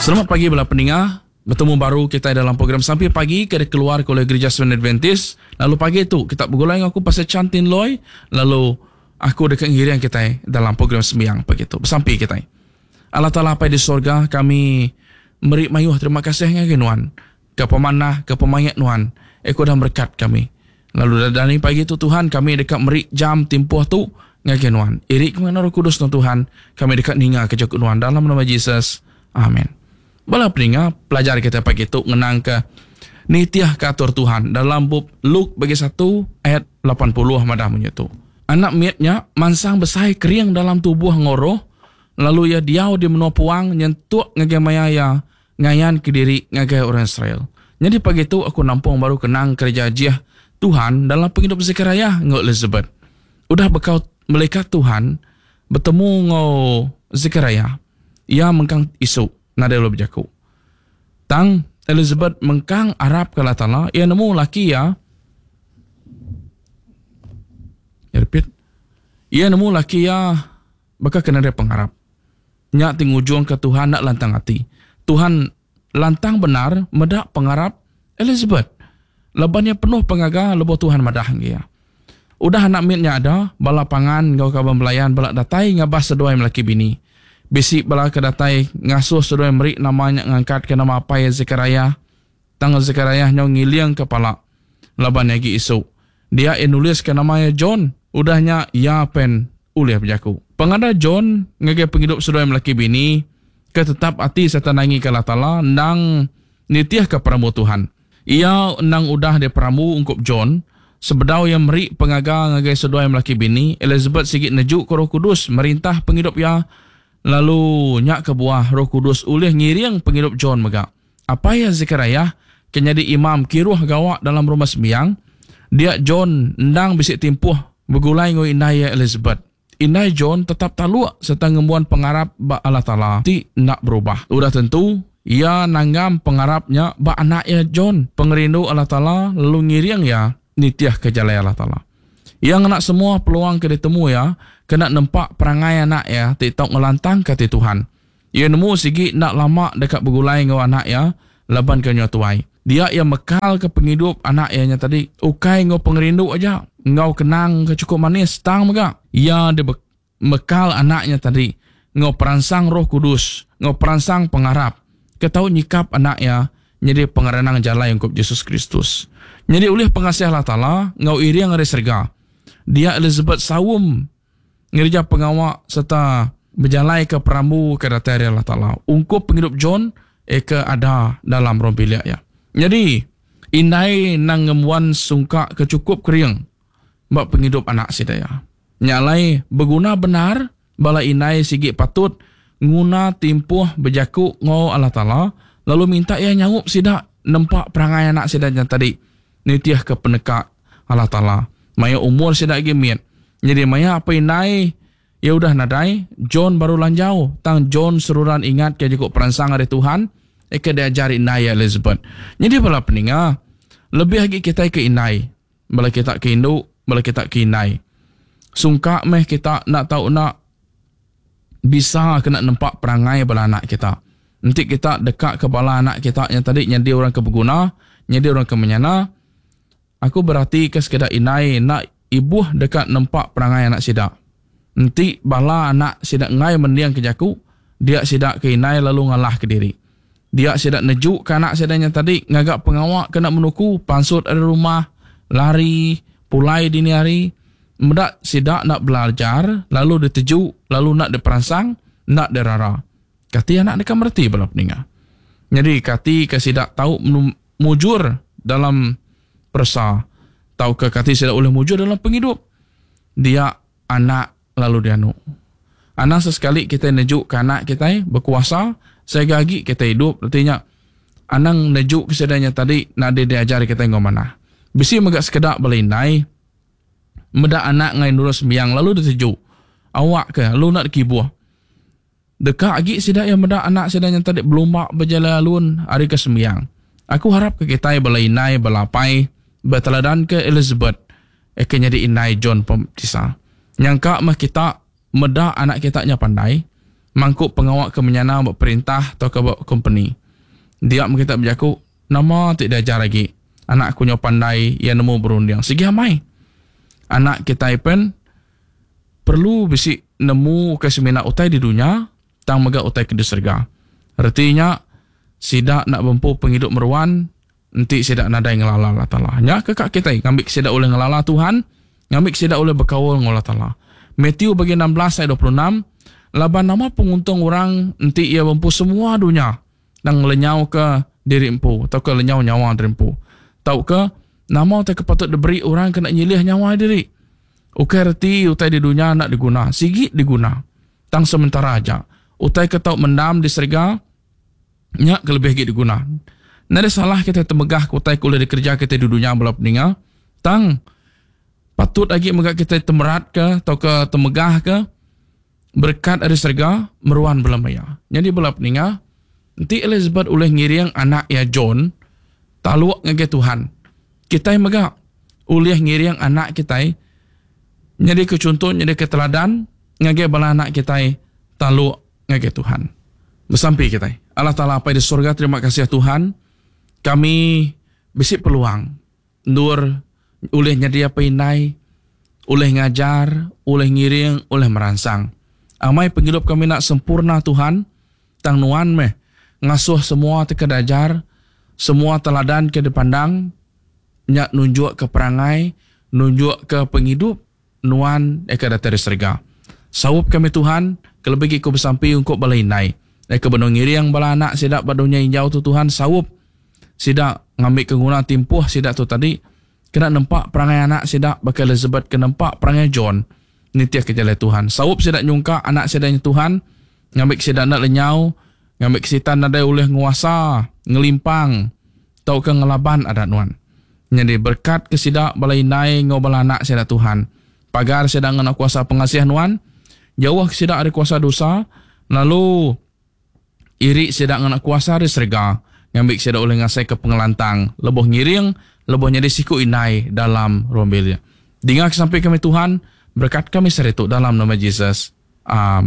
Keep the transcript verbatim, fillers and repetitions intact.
Selamat pagi bala peninga. Betemu baru kita dalam program Sampi Pagi ke dikeluar oleh Gereja Seven Adventist. Lalu pagi tu kita begulai dengan aku Pastor Chan Tin Loi. Lalu aku deka ngiring kita dalam program sembiang pagi tu. Besampi kita. Allah Taala Apai di sorga, kami meri mayuh terima kasih ngagai nuan. Ke pemanah, ke pemayat nuan. Eko dah berkat kami. Lalu dari pagi tu Tuhan kami deka meri jam timpuh tu ngagai nuan. Irik ke Roh Kudus nuan Tuhan, kami deka ninga ke jaku nuan dalam nama Jesus. Amin. Bala peninga, pelajar kita pagi tu ngenang ke nitiah ke atur Tuhan dalam bab Luke bagi satu ayat lapan puluh madah munyi tu. Anak mietnya mansang besai kering dalam tubuh ngoroh, lalu ia diau di menua puang nyentuk ngagai maya ia ngayan ke diri ngagai orang Israel. Jadi pagi tu aku nampung baru kenang kerja jiah Tuhan dalam penghidup Zechariah ngau Elizabeth. Udah bekau malaikat Tuhan bertemu ngau Zechariah, ia mengkang isu nadai lu berjaku. Tang Elizabeth mengkang arap ke Allah Taala, ia nemu laki ia. Ya repeat. Ia nemu laki ia bakal kena dia pengharap. Nyak ting ujung ke Tuhan nak lantang hati. Tuhan lantang benar medak pengharap Elizabeth. Lebannya penuh pengaga lebo Tuhan madah dia. Udah anak mitnya ada, bala pangan ngau kaban belayan bala datai ngabas seduai melaki bini. Bisi bala ke datai ngasuh seduai meri namanya ngangkat ke nama apai Zechariah. Tang Zechariah nyau ngiling kepala laban agi isu. Dia ia nulis ke nama John. Udahnya ia pen ulih berjaku. Pengada John ngagai penghidup seduai melaki bini ke tetap ati serta nangi ke Allah Taala nang nitiah ke peramu Tuhan. Ia nang udah dia peramu ungkup John. Sebedau yang meri pengaga ngagai seduai melaki bini, Elizabeth sigit nejuk ke Roh Kudus merintah penghidup ia. Lalu nyak ke buah Roh Kudus ulih ngiring penghidup John mega. Apa ya Zechariah kena jadi imam kiruh gawak dalam rumah sembiang, dia John endang bisik timpuh begulai ngoi indai Elizabeth. Indai John tetap taluk serta ngembuan pengarap ba Allah Taala ti nak berubah. Udah tentu ia nanggam pengarapnya ba anaknya John, pengerindu Allah Taala lalu ngiring ia nitiah ke jalai Allah Taala. Yang nak semua peluang ke ditemu ya, kena nempak perangai anak ya, ti tau ngelantang ke ti Tuhan. Ia nemu sigi nak lama dekat begulai ngau anak ya, laban ke nyo tuai. Dia ia mekal ke penghidup anak ya nya tadi, ukai ngau pengerindu aja, ngau kenang ke cukup manis tang mega. Ia dia mekal anaknya tadi, ngau peransang Roh Kudus, ngau peransang pengarap, ke tau nyikap anak ya, jadi pengerenang jalan ungkup Yesus Kristus. Jadi oleh pengasih Allah Taala ngau iriang ari serga. Dia Elizabeth sawum ngerja pengawak serta berjalai ke perambu ke datai Allah Taala. Ungkup penghidup John eka ada dalam ruang bilik ya. Jadi indai nang ngemuan sungkak ke cukup kering bak penghidup anak sidaya. Nyalai berguna benar bala indai sigi patut nguna timpuh berjaku ngau Allah Taala lalu minta ia nyaup sidak nempak perangai anak sidak yang tadi nitiah ke penekak Allah Taala. Maya umur sidak gemit. Jadi maya apa indai ya udah nadai John baru lanjau tang John seruran ingat ke cukup peransang dari Tuhan eke diajar indai Elizabeth. Jadi bala peninga lebih lagi kita ke indai, bala kita ke induk, bala kita ke indai. Sungkak meh kita nak tahu nak bisa kena nempak perangai bala anak kita. Nanti kita dekat ke bala anak kita yang tadi nyadi orang ke berguna, nyadi orang ke menyana. Aku berarti ke sekedar indai nak ibuh dekat nempak perangai anak sidak. Nanti bala anak sidak ngai mendiang ke jaku, dia sidak ke indai lalu ngalah ke diri. Dia sidak nejuk ke anak sidaknya tadi ngagak pengawak kena menuku pansut dari rumah, lari, pulai dini hari. Medak sidak nak belajar, lalu ditejuk, lalu nak diperansang, nak dirara. Kati anak dekat merti bala peninga. Jadi kati ke sidak tahu mujur dalam persa, tahu ke kati sidak boleh mujur dalam penghidup. Dia anak lalu dia anu. Anak sesekali kita nejuk ke anak kita berkuasa, sehingga lagi kita hidup. Artinya anang nejuk kesedanya tadi nak dia diajar kita ngau mana. Bisi megak sekedak belindai, medak anak ngai nurus sembiang lalu ditejuk. Awak ke lu nak kibuh. Dekat lagi sidak yang medak anak sidanya tadi belumak berjalan alun hari ke sembiang. Aku harap ke kita belainai belapai berteladan ke Elizabeth eke jadi inai John Pembaptisa. Nyangka mah kita medak anak kita nya pandai, mangku pengawa ke menyana ba perintah tauka ba kompeni. Dia meh kita bejaku, nama ti diajar agi? Anak aku nyau pandai, iya nemu berunding. Sigi amai. Anak kitai pen perlu bisi nemu ukai semina utai di dunya tang mega utai ke di serega. Reti nya sida enda bempu pengidup meruan enti sida nadai ngelala Allah Taala. Nya ke ka kitai ngambi sida ulih ngelala Tuhan, ngambi sida ulih bekaul enggau Allah Taala. Matthew bagi enam belas ayat dua puluh enam, laban nama penguntung orang enti iya bempu semua dunya tang lenyau ke diri empu tauka lenyau nyawa diri empu. Tauka nama utai ke patut diberi orang kena nyilih nyawa diri. Ukai reti utai di dunya enda diguna, sigi diguna. Tang sementara aja. Utai ke tau mendam di serega nya ke lebih agi diguna. Nadai salah kita temegah ke utai ke ulih dikereja kita di dunya bala peninga. Tang patut agi mega kita temerat ke tauka temegah ke berkat ari serega meruan bala maya. Jadi bala peninga, enti Elizabeth ulih ngiring anak iya John taluk ngagai Tuhan, kitai mega ulih ngiring anak kitai nyadi ke contoh, nyadi ke teladan ngagai bala anak kitai taluk ngagai Tuhan. Besampi kitai. Allah Taala Apai di surga, terima kasih Tuhan. Kami bisi peluang endur ulih nyadi apai indai, ulih ngajar, ulih ngiring, ulih meransang. Amai pengidup kami nak sempurna Tuhan, tang nuan meh ngasuh semua te ke diajar, semua teladan ke dipandang, nya nunjuk ke perangai, nunjuk ke pengidup nuan ke datai dari serega. Saup kami Tuhan, kelebih agi ku besampi ungkup bala indai. Ke benung ngiring bala anak sida ba dunya injau tu Tuhan, saup sida ngambi ke guna timpuh sida tu tadi kena nempa perangai anak sida baka Elizabeth ke nempa perangai John nitih ke jalai Tuhan. Saup sida nyungka anak sida nya Tuhan, ngambi ke sida enda lenyau, ngambi ke sitan nadai ulih nguasa, ngelimpang tauka ngelaban adat nuan. Jadi berkat ke sida bala indai ngau bala anak sida Tuhan. Pagar sida ngena kuasa pengasih nuan, jauh ke sida ari kuasa dosa, lalu iri sida ngena kuasa ari serega, ngambi sida ulih ngasai ke pengelantang, lebuh ngiring, lebuh nyadi siku indai dalam ruang bilik. Dinga ke sampai kami Tuhan, berkat kami sehari tu dalam nama Jesus. Amin.